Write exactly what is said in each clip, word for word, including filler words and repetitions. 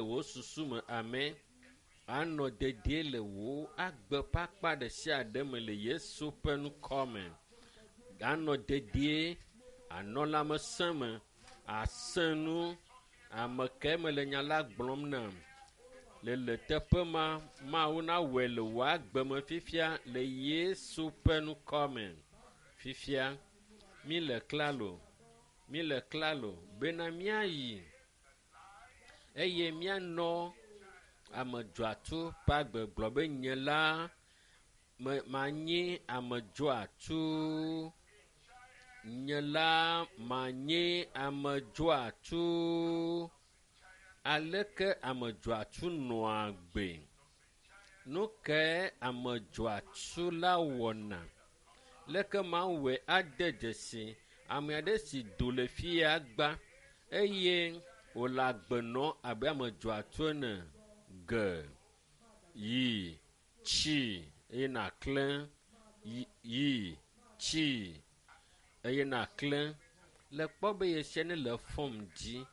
wò susu me ame anɔ dedie le wò agbe ƒe akpa ɖe sia ɖe me le Yesu ƒe ŋkɔ me. Anɔ dedie, anɔ lãmesẽ me, asẽ nu. Ame kae mele nya la gblɔm nam? Le le teƒe ma, Mawu nawɔe le wò agbe me fifia le Yesu ƒe ŋkɔ me. Fifia, mi le klalo, mi le klalo bena míayi eye míanɔ ame dzɔatsu ƒe agbe gblɔ be nye la me manyi ame dzɔatsu. Nye la manyi ame dzɔatsu. Aleke ame dzɔatsu nɔa agbe? Nu kae ame dzɔatsu la wɔna? Leke mawɔe ade dzesi ame aɖe si do le fi ya gba eye wòle agbe nɔm abe ame dzɔatsu ene ge yi tsi eye nàklẽ yi yi tsi eye nàklẽ le kpɔ be yesia ne le fɔm dzi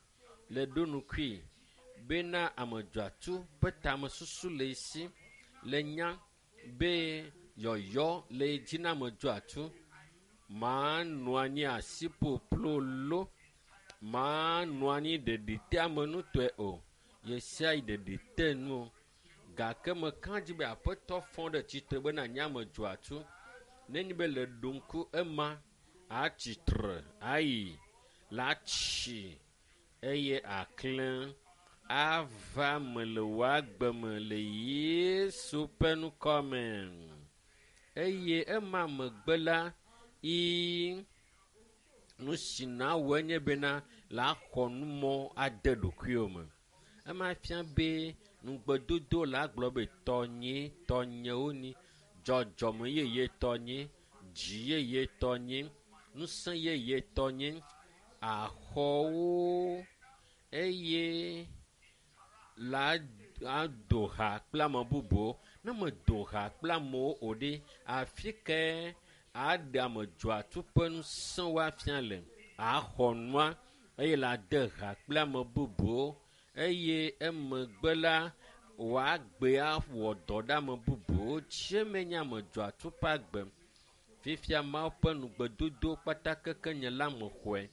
le ɖo nukui bena ame dzɔatsu ƒe tamesusu le esi le nya be yɔyɔ le dzi na ame dzɔatsu manɔ anyi asi ƒoƒlo lo manɔ anyi ɖeɖiteamenutɔe o yesia yi ɖeɖi te nu o gake meka dzi be aƒetɔ fɔ ɖe tsitre bena nye ame dzɔatsu nenye be le ɖo ŋku ema atsitre ayi la tsi eye aklẽ ava me le wò agbe me le Yesu ƒe ŋkɔ me. Eye ema megbe la, yi nu si nawɔe nye bena la xɔ numɔ ade ɖokuiwò me. Ema fia be ŋugbedodo la gblɔ be tɔnye, tɔnyewo ni, dzɔdzɔme yeye tɔnye, dzi yeye tɔnye, ŋusẽ yeye tɔnye, axɔwo eye la ado ha kple ame bubuwo. Ne medo ha kple amewo o ɖe, afi kae aɖe ame dzɔatsu ƒe ŋusẽwo afia le? Axɔ nua eye la de ha kple ame bubuwo eye emegbe la wòagbe awɔ dɔ ɖe ame bubuwo dzi. Eme nye ame dzɔatsu ƒe agbe. Fifia Mawu ƒe ŋugbedodo kpata keke nye la mexɔe.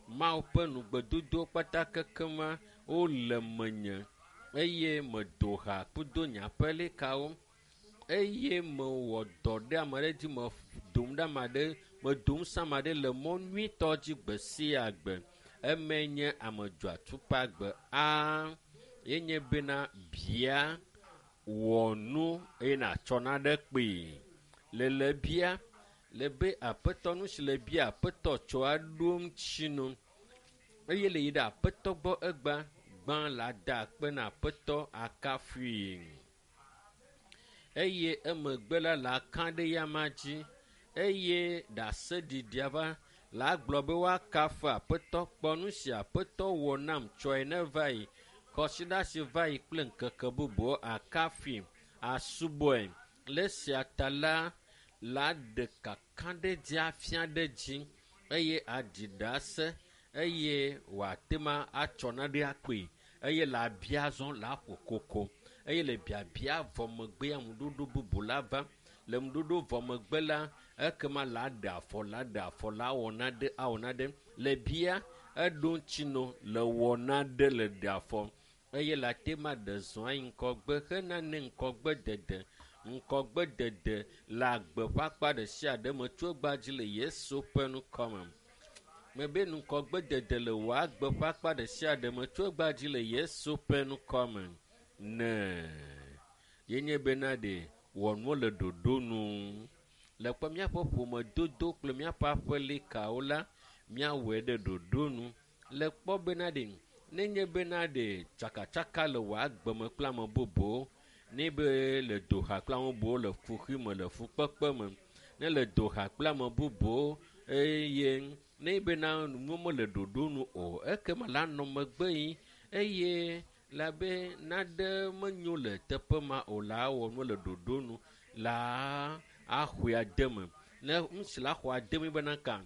Mawu ƒe ŋugbedodo kpata keke ma wole menye eye medo ha kudo nye aƒelikawo eye mewɔ dɔ ɖe ame aɖe dzi medom ɖe ame aɖe medo ŋusẽ ame aɖe le mɔ nyuitɔ dzi gbe sia gbe. Eme nye ame dzɔatsu ƒe agbe. A yenye bena bia wɔ nu eye nàtsɔ naɖe kpee. Le le bia le be aƒetɔ nu si le bia aƒetɔ tsɔ aɖo ŋuti nu eye le yi ɖe aƒetɔ gbɔ egbea gbã la da akpe na aƒetɔ akafui eye emegbe la la ka ɖe yama dzi eye ɖaseɖiɖia va la gblɔ be woakafu aƒetɔ kpɔ nu si aƒetɔ wɔ nam tsɔe ne va yi kɔsiɖa si va yi kple ŋkeke bubuwo akafui asubɔe le esia ta la la ɖe kakaɖedzi afia ɖe dzi eye aɖi ɖase eye wòate ma atsɔ naɖe akpee eye le abia zɔ la ƒo koko eye le biabia vɔ megbea ŋuɖoɖo bubu la va le ŋuɖoɖo vɔ megbe la ekema la ɖe afɔ la ɖe afɔ la wɔ naɖe awɔ naɖe le bia eɖo ŋuti no le wɔ naɖe le ɖe afɔ eye la te ma ɖe zɔn ayi ŋgɔgbe hena ne ŋgɔgbe dede ŋgɔgbe dede le agbe ƒe akpa ɖe sia ɖe me tso egbea dzi le Yesu ƒe ŋkɔ me. Mebe ŋgɔgbe dede le wò agbe ƒe akpa ɖe sia ɖe me tso egbea dzi le Yesu ƒe ŋkɔ me. Ne yenye bena ɖe wɔ nuwo le ɖoɖo nu. Le kpɔ míaƒe ƒomedodo kple míaƒe aƒelikawo la, míawɔe ɖe ɖoɖo nu. Le kpɔ bena ɖe nenye bena ɖe tsakatsaka le wò agbe me kple ame bubuwo, ne be le do ha kple ame bubuwo le kuxi me le fukpekpe me, ne le do ha kple ame bubuwo eye ne bena nuwo mele ɖoɖo nu o, ekema la nɔ megbe yi eye la be naɖe menyo le teƒe ma o la wɔ nu le ɖoɖo nu la axɔe ade me. Ne nu si la xɔ ade me bena ka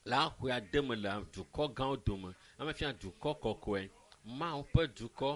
la xɔe ade me le dukɔ gãwo dome. Ame fia dukɔ kɔkɔe, Mawu ƒe dukɔ.